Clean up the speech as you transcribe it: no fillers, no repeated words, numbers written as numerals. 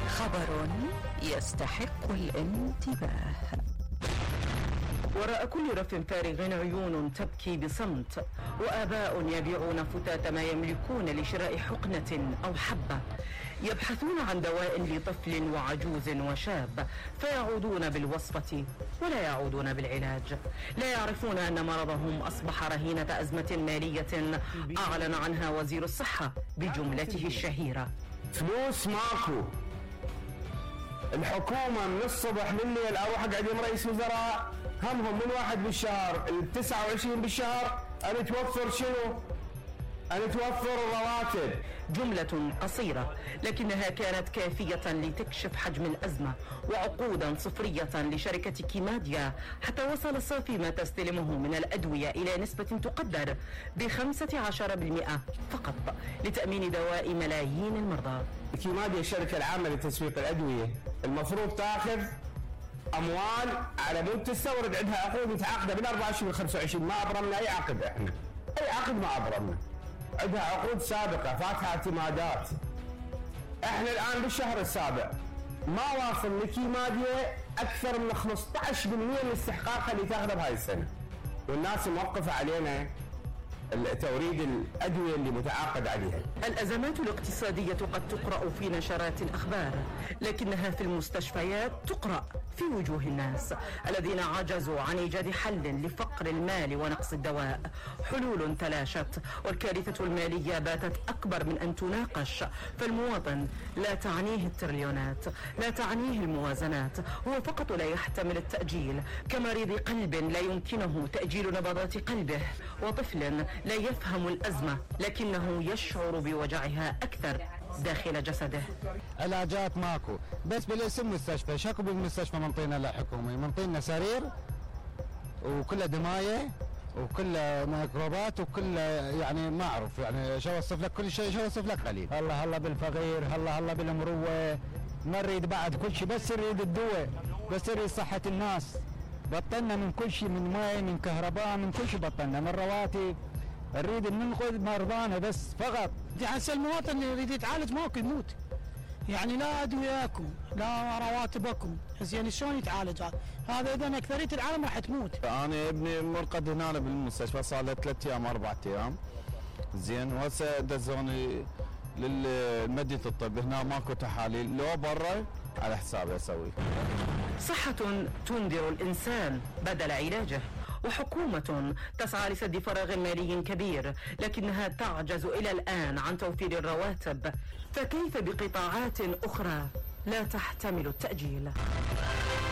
خبر يستحق الانتباه. وراء كل رف فارغ عيون تبكي بصمت، وآباء يبيعون فتات ما يملكون لشراء حقنة أو حبة، يبحثون عن دواء لطفل وعجوز وشاب، فيعودون بالوصفة ولا يعودون بالعلاج. لا يعرفون أن مرضهم أصبح رهينة أزمة مالية أعلن عنها وزير الصحة بجملته الشهيرة: فلوس ماكو. الحكومة من الصبح لليل أروح أقعد رئيس وزراء همهم من 1 بالشهر 29 بالشهر أن توفر شنو؟ أن توفر الرواتب. جملة قصيرة لكنها كانت كافية لتكشف حجم الأزمة، وعقودا صفرية لشركة كيماديا حتى وصل صافي ما تستلمه من الأدوية إلى نسبة تقدر ب15% فقط لتأمين دواء ملايين المرضى. كيماديا الشركة العامة لتسويق الأدوية المفروض تاخذ أموال على مود تستورد، عندها عقود متعاقدة بال 24 وال25. ما أبرمنا أي عقد، إحنا أي عقد ما أبرمنا، عندها عقود سابقة فاتحة اعتمادات. احنا الآن بالشهر السابع ما واصل لكيماديا أكثر من 15% من استحقاقها اللي تاخذها بهاي السنة، والناس موقفة علينا توريد الأدوية اللي متعاقد عليها. الأزمات الاقتصادية قد تقرأ في نشرات الأخبار، لكنها في المستشفيات تقرأ في وجوه الناس الذين عجزوا عن إيجاد حل لفقر المال ونقص الدواء. حلول تلاشت، والكارثة المالية باتت أكبر من أن تناقش، فالمواطن لا تعنيه التريليونات، لا تعنيه الموازنات، هو فقط لا يحتمل التأجيل، كمريض قلب لا يمكنه تأجيل نبضات قلبه، وطفل لا يفهم الأزمة لكنه يشعر بوجعها أكثر داخل جسده. علاجات ماكو، بس بالاسم مستشفى. شكو بالمستشفى منطينا لا حكومي، منطينا سرير وكله دماية وكله ميكروبات وكله يعني ما أعرف يعني شو أوصف لك، كل شيء شو أوصف لك قليل. هلا بالفقير، هلا بالمروة، ما نريد بعد كل شيء، بس نريد الدواء، بس نريد صحة الناس. بطلنا من كل شيء، من ماء، من كهرباء، من كل شيء بطلنا، من رواتب. نريد ننقذ مرضانا بس فقط. هسه المواطن اللي يريد يتعالج ماكو يموت، يعني لا ادوياكم لا رواتبكم، زين شلون يتعالج هذا؟ اذا اكثريه العالم راح تموت. انا ابني مرقد هنا بالمستشفى صار له 3 أيام 4 أيام، زين، وهسه دزوني للمدينه الطب، هنا ماكو تحاليل، لو برا على حسابي اسوي. صحة تنذر الإنسان بدل علاجه، وحكومة تسعى لسد فراغ مالي كبير لكنها تعجز إلى الآن عن توفير الرواتب، فكيف بقطاعات أخرى لا تحتمل التأجيل؟